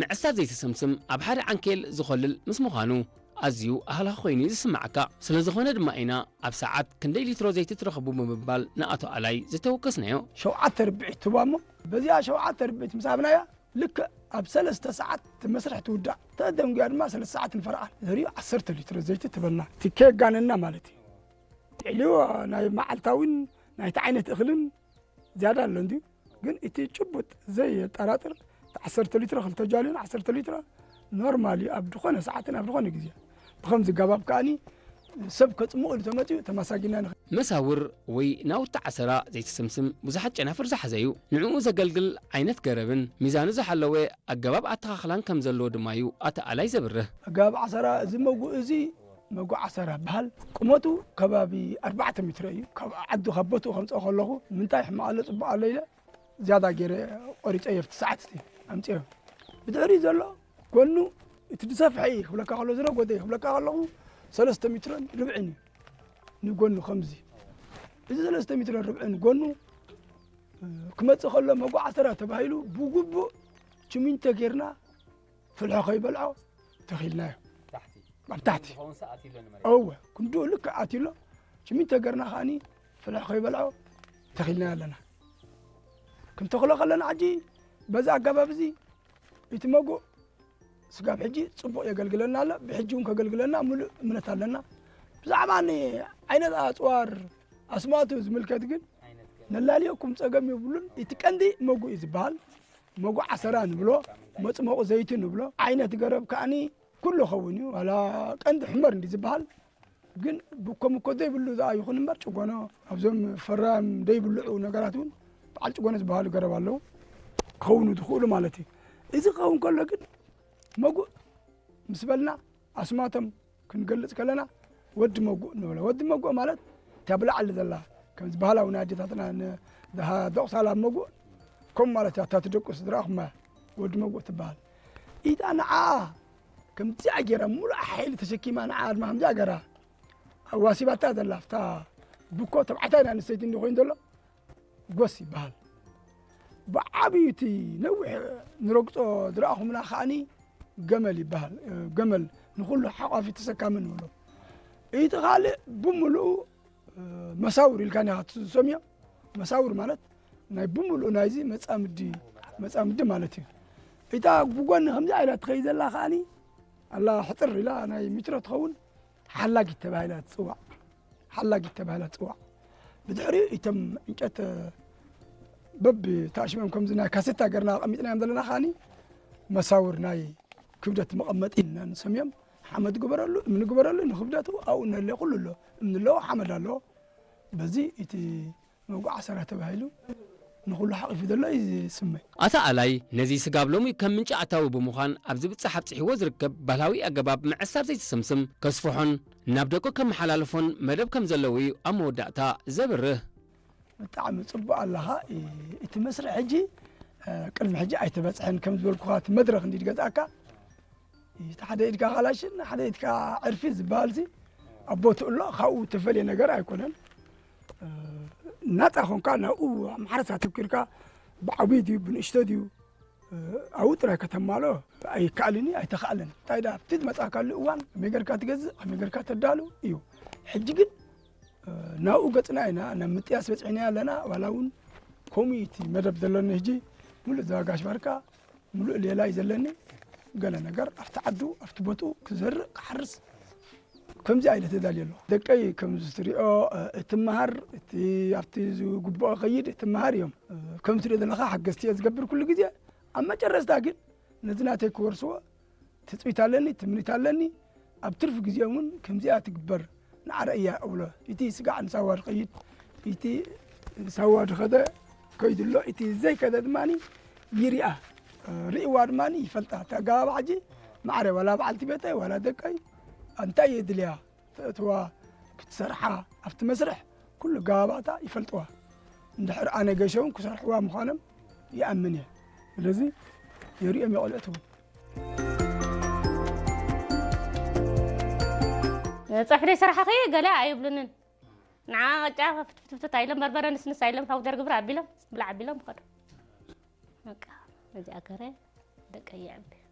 ምዕሳር ዘይትስምስም ኣብ ሓደ ዓንኬል ዝኾልል ምስ ምዃኑ ኣዝዩ ኣህላኺ ኮይኑ እዩ ዝስምዓካ። ስለ ዝኾነ ድማ ኢና ኣብ ሰዓት ክንደይ ሊትሮ ዘይቲ ትረኽቡ ብምባል ንኣቶ ኣላይ ዝተወከስናዮ። ሸውዓተ ርብዒት ትህባ እሞ በዚኣ ሸውዓተ ርብዒት ምስ ሃብናያ ልክዕ ኣብ ሰለስተ ሰዓት እቲ መስርሕ ትውዳእ። ተደንጉያ ድማ ሰለስተ ሰዓት ንፈርቓን ዘሪኡ ዓሰርተ ሊትሮ ዘይቲ ትበና። እቲ ከየጋነና ማለት እዩ። ትዕልዮ ናይ መዓልታዊን ናይቲ ዓይነት እኽልን ዝያዳ ኣሎ እንድዩ። ግን እቲ ጭቡጥ ዘየጠራጥር እቲ ዓሰርተ ሊትሮ ክልተ ጃልዮን ዓሰርተ ሊትሮ ኖርማል እዩ ኣብ ዝኾነ ሰዓትን ኣብ ዝኾነ ግዜ። ብኸምዚ ገባብ ከኣኒ ሰብ ከጽምቕ ኢሉ ተመጺኡ ተማሳጊና ንኽእል። መሳውር ወይ ናውቲ ዓሰራ ዘይትስምስም ብዙሓት ጨናፍር ዝሓዘ እዩ። ንዕኡ ዘገልግል ዓይነት ገረብን ሚዛኑ ዝሓለወ ኣገባብ ኣተኻኽላን ከም ዘለዎ ድማ እዩ ኣቶ ኣላይ ዘብርህ። ኣገባብ ዓሰራ እዚ መጉእ እዚ መጉእ ዓሰራ በሃል። ቁመቱ ከባቢ ኣርባዕተ ሜትሮ እዩ። ካብ ዓዲ ካብ ቦትኡ ከምፅኦ ከለኹ ምንታይ ሕማቕ ኣሎ ፅቡቕ ኣሎ ኢለ ዝያዳ ገይረ ቆሪፀ የፍቲ ሰዓት እቲ ኣምፅኦ። ብድሕሪ ዘሎ ጎኑ እቲ ዝሰፍሐ እዩ ክብለካ ከሎ ዝነጎደ እዩ ክብለካ ከለኹ ሰለስተ ሜትሮን ርብዕን እዩ። ንጎኑ ከምዚ እዚ ሰለስተ ሜትሮን ርብዕን ጎኑ ክመፅእ ከሎ መጉእ ዓሰራ ተባሂሉ ብግቡእ ችሚንቶ ጌርና ፍልሖ ከይበልዖ ተኺልናዮ። ኣብ ታሕቲ እወ ክንድኡ ልክዕ ኣትዩ ኣሎ። ችሚንቶ ጌርና ከኣኒ ፍልሖ ከይበልዖ ተኺልናዮ ኣለና። ክንተኽሎ ከለና ሕጂ በዚ ኣገባብ እዚ እቲ መጉእ ስጋብ ሕጂ ጽቡቕ የገልግለና ኣሎ። ብሕጂ እውን ከገልግለና ምሉእ እምነት ኣለና። ብዛዕባ ን ዓይነት ኣጽዋር ኣስማቱ ዝምልከት ግን ነላልየኩም ጸገም የብሉን። እቲ ቀንዲ መጉእ እዩ ዝበሃል። መጉእ ዓሰራ ንብሎ፣ መጽመቑ ዘይቲ ንብሎ፣ ዓይነት ገረብ ከኣኒ ኩሉ ኸውን እዩ። ዋላ ቀንዲ ሕመር እንዲ ዝበሃል ግን ብኮም እኮ ዘይብሉ ዝኣ ይኹን እምበር ጭጎኖ ኣብዞም ፈራም ዘይብልዑ ነገራት እውን በዓል ጭጎኖ ዝበሃሉ ገረብ ኣለዉ ክኸውኑ ዝኽእሉ ማለት እዩ። እዚ ክኸውን ከሎ ግን መጉእ ምስ በልና ኣስማቶም ክንገልጽ ከለና ወዲ መጉእ ንብሎ። ወዲ መጉእ ማለት እታ ብላዕሊ ዘላ ከምዚ ባህላዊ ናይ ኣዴታትና ን-፣ ዝሃ-፣ ዘቑሳላ መጉእ ከም ማለት እያ። እታ ትደቁስ ዝረኣኹማ ወዲ መጉእ ትበሃል። ኢታ ንዓኣ ከምዚኣ ገይራ ሙሉእ ሓይሊ ተሸኪማ ንዓኣ ድማ ከምዚኣ ገይራ ኣዋሲባታ ዘላ ኣብታ ብኮ ተባዕታይ ናይ ኣንስተይቲ እንዲ ኮይኑ ዘሎ ጎስ ይበሃል። ብዓብዩ እቲ ነዊሕ ንረግጾ ዝረኣኹምና ከኣኒ ገመል ይበሃል። ገመል ንኹሉ ሓቋፊ ተሰካሚ ንብሎ። እቲ ካልእ ብምሉኡ መሳውር ኢልካ ኒኻ ትሰምዮ። መሳውር ማለት ናይ ብምሉኡ ናይዚ መጻምዲ፣ መጻምዲ ማለት እዩ። እታ ብጎኒ ከምዚ ኢላ ትኸይድ ዘላ ከኣኒ ኣላ ሕጽር ኢላ ናይ ሚትሮ ትኸውን ሓላጊት ተባሂላ ትጽዋዕ። ሓላጊት ተባሂላ ትጽዋዕ። ብድሕሪኡ እቶም ዕንጨት በብ ታሽሞም ከምዚ ናይ ካሴታ ገርና ኣቐሚጥናዮም ዘለና ከኣኒ መሳውር ናይ ክብደት መቐመጢ ኢልና ንሰምዮም። ሓመድ ግበረሉ፣ እምኒ ግበረሉ፣ ንክብደቱ ኣብኡ ነለ ኩሉ ኣሎ። እምኒ ኣለዎ፣ ሓመድ ኣለዎ። በዚ እቲ መጉእ ዓሰራ ተባሂሉ ንኹሉ ሓቒፉ ዘሎ እዩ ዝስመ። ኣታ ኣላይ ነዚ ስጋብ ሎሚ ከም ምንጪ ኣታዊ ብምዃን ኣብ ዝብጻሕ ኣብጺሕዎ ዝርከብ ባህላዊ ኣገባብ ምዕሳር ዘይትስምስም ከስፍሖን ናብ ደቁ ከመሓላልፎን መደብ ከም ዘለዎ እዩ ኣብ መወዳእታ ዘብርህ። ብጣዕሚ ጽቡቕ ኣለኻ። እ-፣ እቲ መስርሕ ሕጂ፣ እ፣ ቅድሚ ሕጂ ኣይተበጽሐን ከም ዝበልኩኻ እቲ መድረኽ እንዲ ገዝኣካ እቲ ሓደ ኢድካ ካላሽን ሓደ ኢድካ ዕርፊ ዝበሃልሲ ኣብ ቦትኡ ኣሎ። ካብኡ ተፈልየ ነገር ኣይኮነን። እ፣ ናጻ ኾንካ ናብኡ ኣብ ማሕረስ ኣተኲርካ ብዓብዩ ድዩ ብንእሽቶ ድዩ፣ እ፣ ኣብኡ ጥራይ ከተማልኦ ኣይከኣልን እዩ፣ ኣይተኻእለን። እንታይ ደኣ ኣብቲ ዝመጻእካሉ እዋን ከመይ ጌርካ ትገዝእ፣ ከመይ ጌርካ ተዳሉ እዩ። ሕጂ ግን፣ እ፣ ናብኡ ገጽና ኢና፣ ናብ ምጥያስ በጺሕና ኣለና። ዋላ እውን ከምኡ እዩ እቲ መደብ ዘለኒ ሕጂ፣ ሙሉእ እዛ ጋሽ ባርካ ሙሉእ ሌላ እዩ ዘለኒ። ገለ ነገር ኣብቲ ዓዱ፣ ኣብቲ ቦትኡ ክዘርእ፣ ክሓርስ፣ ከምዚ ኢለ ተዳልየ ኣለኹ። ደቀይ ከምዚ ትሪኦ፣ እ፣ እትመሃር፣ እቲ ኣብቲ ዝግብኦ ከይድ እትመሃር እዮም። እ፣ ከም ትሪኦ ዘለኻ ሓገዝቲ እየ ዝገብር ኩሉ ግዜ። ኣብ መጨረስታ ግን ነዚ ናተይ ክወርስዎ ትጽቢት ኣለኒ፣ ትምኒት ኣለኒ። ኣብ ትርፊ ግዜኦም እውን ከምዚኣ ትግበር ንዓረ እያ እብሎ። እቲ ስጋዕ ንሳዋ ዝኸይድ፣ እቲ ንሳዋ ዝኸደ ከይዱ ኣሎ፣ እቲ ዘይከደ ድማ ይሪኣ። እ፣ ሪእዋ ድማ ይፈልጣ። እቲ ኣገባብ ሕጂ ማዕረ ዋላ በዓልቲ ቤተይ ዋላ ደቀይ እንታይ የድልያ ተእትዋ ክትሰርሓ ኣብቲ መስርሕ ኩሉ ኣገባባታ ይፈልጥዋ። እንድሕር ኣነ ገሸውን ክሰርሕዋ ምዃኖም ይኣምን እየ። ስለዚ የርእዮም የቐልዑት እውን። ጸብሒ ደይ ሰራሕኺ ገለ ኣይብሉንን። ንዓ ቅጫ ፍትፍትፍትፍት ኣይሎም በርበረ ንስንስ ኣይሎም ፓውደር ግብር ኣቢሎም ብላዕ ኣቢሎም ይኸዱ። በቃ በዚኣ ገረ ደቀ ይዕቢ።